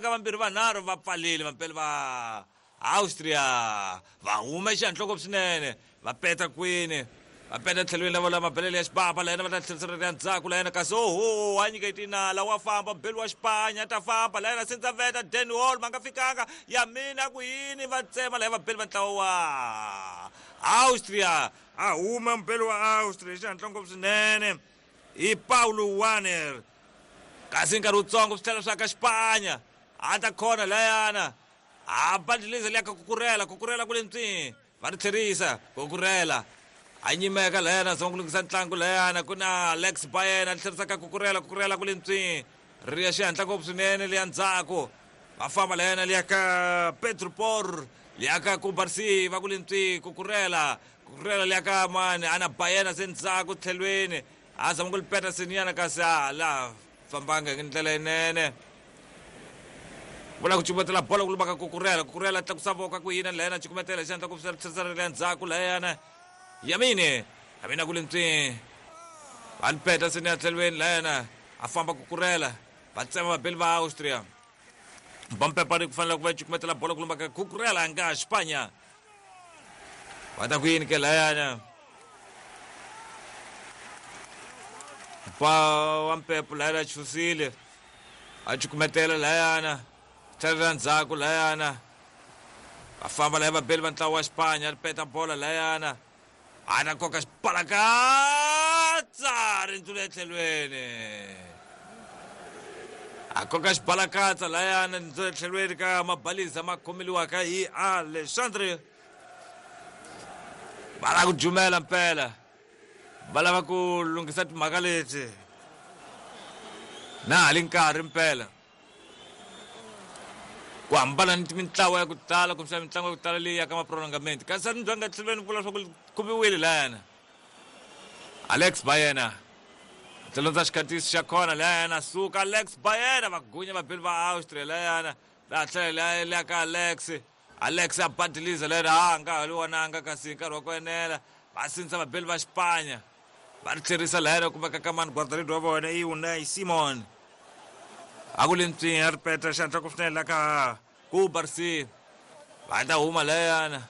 ka vambirhi vanharhu va pfalile vampele va Austria va huma exihanhloko swinene va peta kwini va peta tlhelweni lavo la mabelele ya xibaba la yena va ta tlherisela ya ndzhaku la yena kasi oho a nyiketi nala wa famba mbeli wa xipanya ta famba la yena sindza veta Dan Hall ma nga fikanga ya mina ku yini va tsema la ya vabeli va ntlawa wa Austria a huma mbeli wa Austria xihatla ngopfu swinene hi Paulo Warner kasi nkarhi wutsongo swi tlhela swa ka xipanya a ta khona layana a bandliliza liya ka kukurela kukurela kule ntswini va ri tlherisa kukurela a nyimeka layana zama ku lunghisa ntlangu layana ku na Alex Bayena a tlherisa ka kukurela kukurela kule ntswini ri ya xihatla ngopfu swinene liya ndzhaku va famba layana liya ka Pedro Por liya ka Kubarsi va kule ntswi kukurela kukurela liya ka mani ana Bayena se ndzhaku tlhelweni a zama ku li peta seniyana kasi a la fambanga hi ndlela yinene vula ku cukumetela bolo ku lumaka kukurela kukurela tlakusa voko ku yina layana cukumetela xandla ku tlherisela le ndzhaku layana yamini yamina ku le ntswini va lipeta seni ya tlhelweni layana a famba kukurela va tsema vabeli va Austria Bampepani ku fanele ku va cukumetela bolo ku lumaka kukurela nga Xipanya va ta ku yini ke layana ba wa mpepo layana chusile a cukumetela layana tlhelela ndzhaku layana va famba laya vabeli va ntlawa wa Xipanya ri peta bola layana a ta koka xibalakatsa ri ndlula etlhelweni a koka xibalakatsa layana ndlula etlhelweni ka mabalisa ma khomeliwaka hi Alexandre va lava ku jumela mpela va lava ku lunghisa timhaka leti na ha li nkarhi mpela ku hambana ni mintlawa ya ku tala kumbexana mitlangu ya ku tala leyi ya ka maprolongament kasi a ni byanga tlhelweni vula swa ku khumiwile layana Alex Bayena tlhelondza xikhatisi xa khona layana suka Alex Bayena va gunya vabeli va Austria layana laha tlhela liya ka Alex Alex a badiliza lera a nga ha li vonanga kasi nkarhi wa ku enela va sindzisa vabeli va Xipanya va ri tlherisa layana kumeka ka mani guardaredi wa vona i Unai Simon a ku le ntswini a ri peta xandla ku swinene la ka ku Barsi va ta huma layana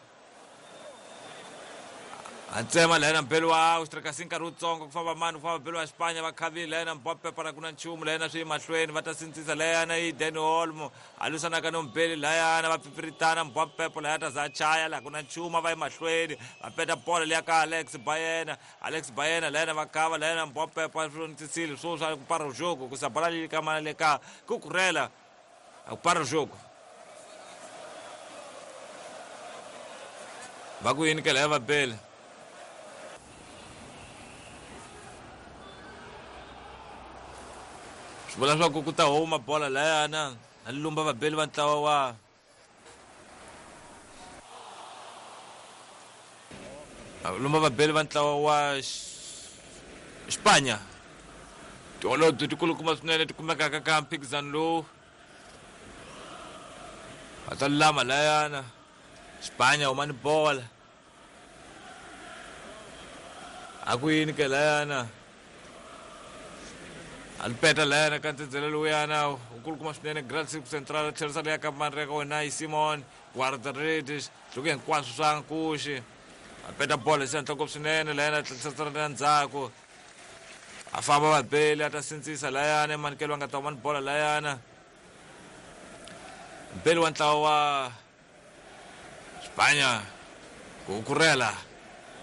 a tsema layana mbeli wa Austria kasi nkarhi wutsongo ku famba mani ku famba mbeli wa Xipanya va khavile layana Mbappe para ku na nchumu layana swi mahlweni va ta sindzisa layana i Dani Olmo a lwisanaka no mbeli layana va pfipfiritana Mbappe laya ta za chaya laha ku na nchumu va ye mahlweni va peta bola liya ka Alex Bayena Alex Bayena layana va kava layana Mbappe swi swo swa ku para jogo ku sa bola leyi ka mana le ka ku kurela a ku para jogo va ku yini ke laya va bele swi vula swa ku ku ta huma bola layana a lumba vabeli va ntlawa wa lumba vabeli va ntlawa wa Xipanya tiholobye tikulukumba swinene ti kumekaka ka mphikizano lowu va ta lulama layana Xipanya huma ni bola a ku yini ke layana a li peta layana ka ntsendzele lowuyana wu kulukuma swinene Grand Cirque Central tlherisa leya ka mani ka wena yi Simon Guardaredes loko hinkwaswo swa nkuxi a peta bolo hi xihatla ngopfu swinene layana tlherisela ndzhaku a famba vabeli a ta sindzisa layana emanikelo va nga ta huma ni bola layana mbeli wa ntlawa wa Xipanya ku kurela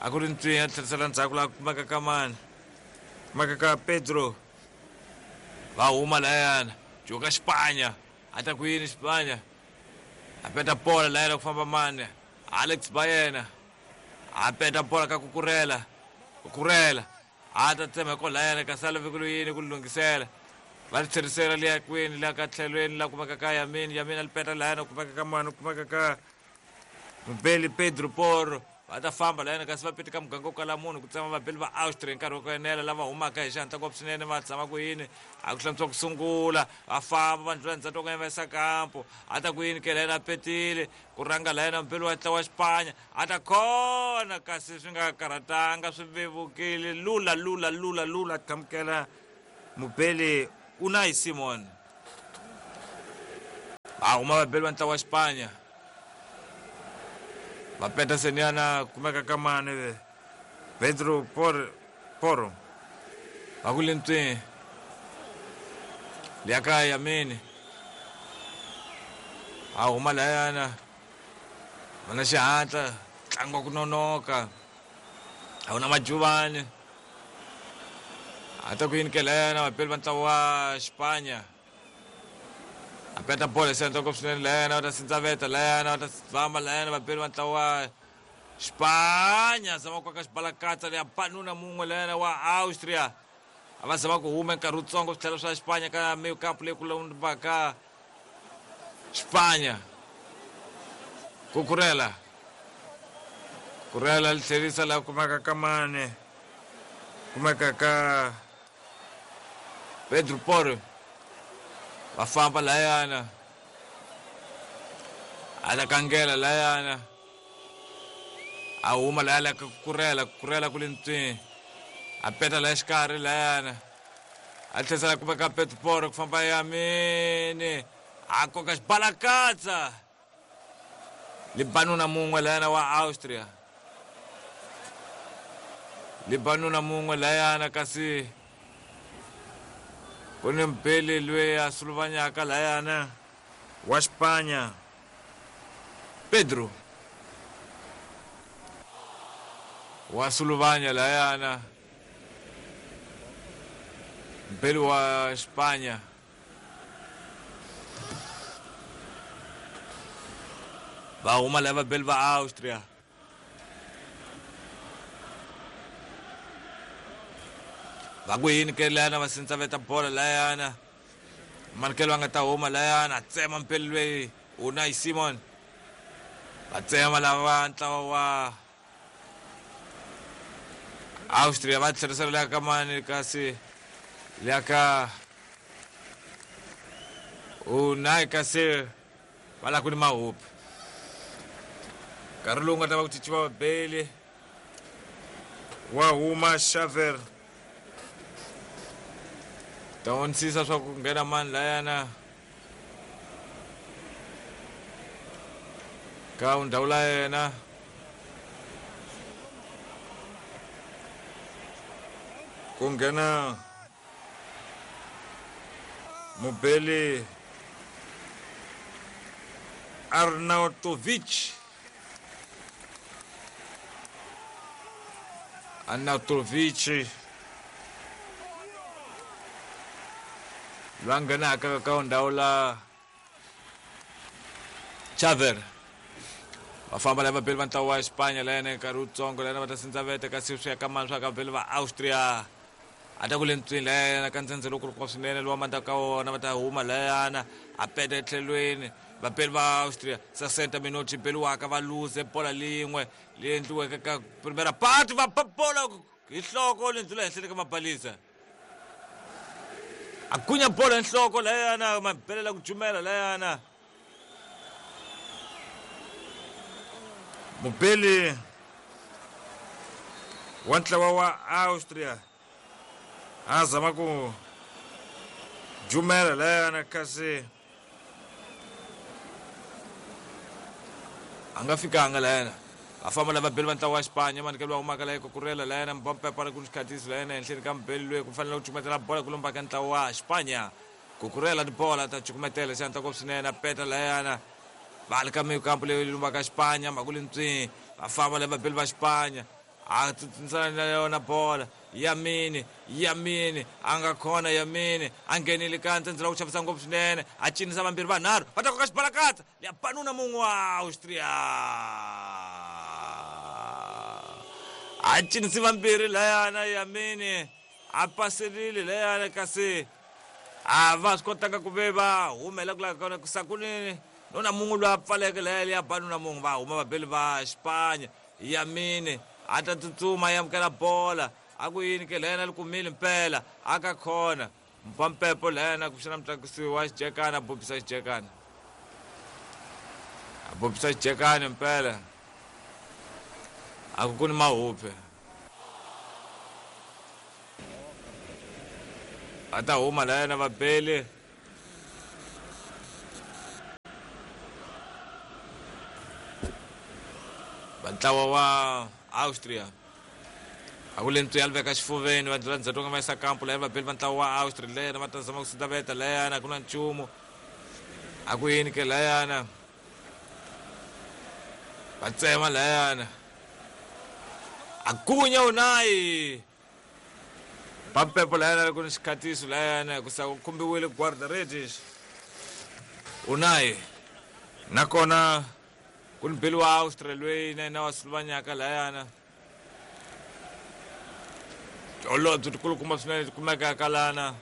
a ku ri ntswinya tlherisela ndzhaku laha kumeka ka mani kumeka ka Pedro va huma layana joka Xipanya a ta ku yini Xipanya a peta bola layana ku famba mani Alex Bayena a peta bola ka kukurela kukurela a ta tsema hi kolayana kasi a lave ku yini ku lunghisela va ri tlherisela liya kwini la ka tlhelweni la kumeka ka Yamini Yamini a li peta layana kumeka ka mani kumeka ka Mubeli Pedro Porro va ta famba layana kasi va pete ka muganga wo kala munhu ku tsema vabeli va Austria hi nkarhi wa ku enela lava humaka hi xihatla ngopfu swinene va tshama ku yini a ku hlantswa ku sungula va famba va ndlula ndzhaku ka va yisa kampo a ta ku yini ke layana a petile ku rhanga layana mubeli wa ntlawa wa Xipanya a ta khona kasi swi nga karhatanga swi vevukile lula lula lula lula qhamukela mubeli Unai Simon. A huma vabeli va ntlawa wa Xipanya. Va peta seniyana kumeka ka mani Pedro Porro. Va ku lentswini. Liya ka Yamini. A huma layana. Va na xihatla, ntlangu wa ku nonoka. A wu na majuvani. A ta ku yini ke layana vapeli va ntlawa wa Xipanya. A peta bolo hi xihatla ngopfu swinene layana va ta sindzaveta layana va ta famba layana vapeli va ntlawa wa Xipanya. Zama ku koka xibalakatsa leya banuna mun'we layana wa Austria. A va zama ku huma nkarhi wutsongo switlhelo swa Xipanya ka mikampu leyi ku lombaka Xipanya. Kukurela. Kurela li tlherisa laha kumeka ka mani. Kumeka ka Pedro Porro. Va famba layana. A la kangela layana. A huma laya ka Kukurela, Kukurela ku le ntswini. A peta laya xikarhi layana. A tlherisa laha kumeka Pedro Porro ku famba Yamini. A koka xibalakatsa. Libanuna mun'we layana wa Austria. Libanuna mun'we layana kasi ku ni mbeli loyi a suluvanyaka layana wa Xipanya. Pedro wa suluvanya layana. Mbeli wa Xipanya. Va huma lava vabeli va Austria. Va ku yini ke layana va sindzaveta bolo layana. Manikelo va nga ta huma layana a tsema mpeli loyi Unai Simon. Va tsema lava ntlawa wa Austria va tlherisela leya ka mani kasi leya ka Unai kasi va lava ku ni mahupi. Nkarhi lowu nga ta va ku cinciwa vabeli wa huma Xaver. Ta vonisisa swa ku nghena mani layana ka ndhawu la yena. Ku nghena mubeli Arnautovic. Arnautovic loyi a nghenaka ka ndhawu la Xaver. Va famba lava vabeli va ntlawa wa Xipanya layana nkarhi wutsongo layana va ta sindzaveta kasi swi ya ka mani swa ka vabeli va Austria. A ta ku le ntswini layana ka ndzhendzhe lowukulukumba swinene lowa mandla ka wona va ta huma layana a peta etlhelweni vabeli va Austria. 60 minuti beliwaka va luze bola lin'we leyi endliweke ka primera part va ba bola hi nhloko leyi ndlula henhleni ka mabalisa. A gunya bola hi nhloko layana mabelela ku jumela layana. Mubeli wa ntlawa wa Austria a zama ku jumela layana kasi a nga fikanga layana. Va famba lava vabeli va ntlawa wa Xipanya manikelo wa humaka laya Kukurela layana Mbappe para ku xikhatisi layana henhleni ka mubeli loyi ku fanele ku cukumetela bola ku lombaka ntlawa wa Xipanya. Kukurela ni bola ta cukumetela xihatla ngopfu swinene a peta layana. Va le ka mikampu leyi lombaka Xipanya mhaka le ntswini. Va famba lava vabeli va Xipanya. A tsutsumisana na yona bola. Yamini, Yamini a nga khona Yamini a nghenile ka ntsendze ku chavisa ngopfu swinene a cinisa vambirhi vanharhu va ta koka xibalakatsa ya banuna mun'we wa Austria. A cinisi vambirhi layana Yamini a paserile layana kasi a va swi kotanga ku ve va humela ku lava kona kusakunini nuna mun'we loyi a pfaleke laya ya banuna mun'we va huma vabeli va Xipanya. Yamini a ta tsutsuma ya amukela bola a ku yini ke layana li kumile mpela a ka khona mpampepo layana ku xana mutlakusi wa xijekana a bobisa xijekana. A bobisa xijekana mpela a ku ku ni mahupe. A ta huma layana vabeli. Va ntlawa wa Austria a ku le ntswi ya veka xifuveni va ndlela ndzhaku nga va yisa kampu laya vabeli va ntlawa wa Austria leyana va ta zama ku sindaveta layana a ku na nchumu a ku yini ke layana va tsema layana a gunya Unai Pampepo layana ku ni xikhatiso layana ku sa ku khumbiwile guarda-redes Unai nakona ku ni beli wa Austria loyi na yena wa Slovanyaka layana tiholobye tikulukumba swinene ti kumekaka lana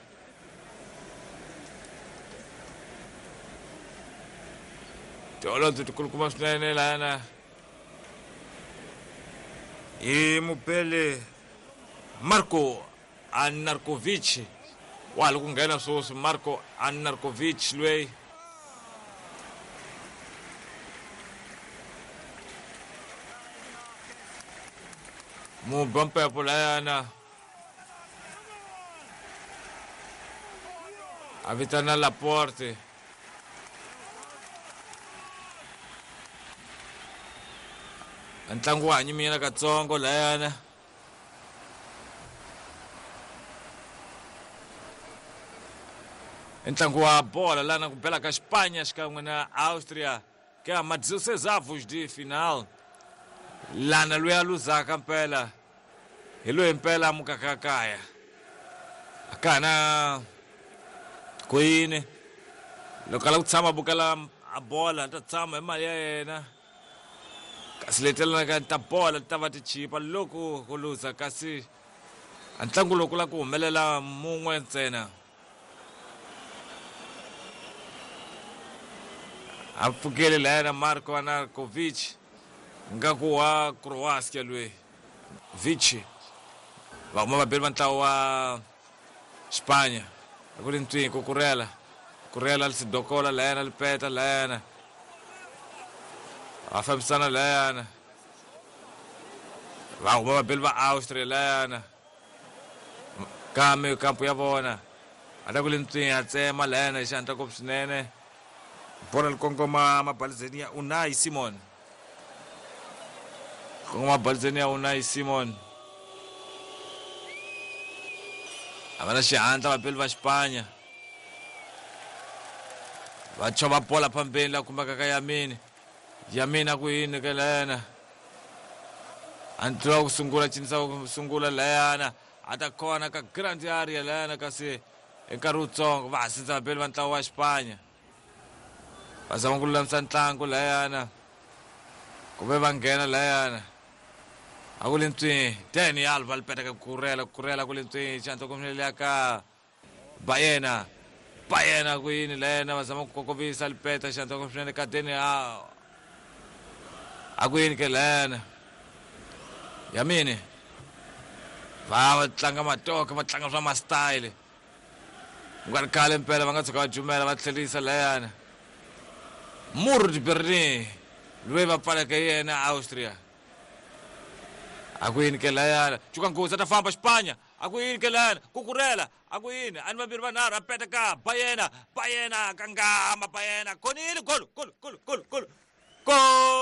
tiholobye tikulukumba swinene lana hi mupele Marko Anarkovic wa ha ri ku nghena sweswi Marko Anarkovic loyi muba mpepo layana a vitana Laporte ntlangu wa ha nyiminyana katsongo layana i ntlangu wa bola lana ku bela ka Xipanya xikan'we na Austria ka ma 16 avos de final lana loyi a luzaka mpela hi loyi mpela a mukaka kaya a ka ha na ku yini loko a lava ku tshama a bukela a bola a ta tshama hi mali ya yena kasi leti lavaka ta bola ti ta va ti chipa loko ku luza kasi a ntlangu lowu ku lava ku humelela mun'we ntsena a pfukele laya na Marko Anarkovic ngaku wa Croatia loyi Vici va huma vabeli va ntlawa wa Xipanya a ku ri ntswini ku kurela kurela Sidokola layana Lipeta layana va fambisana layana va huma vabeli va Austria layana kambe kampu ya vona a ta ku le ntswini a tsema layana hi xihatla ngopfu swinene bolo li kongoma mabalizeni ya Unai Simon kongoma mabalizeni ya Unai Simon a va na xihatla vabeli va Xipanya va chova bola phambeni la kumekaka Yamini Yamini a ku yini ka layana a ntlula ku sungula cinisa ku sungula layana a ta kona ka grand area layana kasi hi nkarhi wutsongo va ha sindza vabeli va ntlawa wa Xipanya va zama ku lulamisa ntlangu layana kumbe va nghena layana a ku le ntswini Dani Alves va lipeta ka kurela kurela ku le ntswini xihatla ku ka Bayena Bayena ku yini layana va zama ku kokovisa lipeta xihatla ku swinene ka Dani a ku yini ke layana Yamini va tlanga matoka va tlanga swa ma-style ku nga ri khale mpela va nga tshuka va jumela va tlherisa layana Murd Berlin loyi va pfaleke yena Austria a ku yini ke layana cuka nghozi a ta famba Xipanya a ku yini ke layana kukurela a ku yini a ni vambirhi vanharhu a peta ka Bayena Bayena kangama Bayena konile golo golo golo golo golo gol.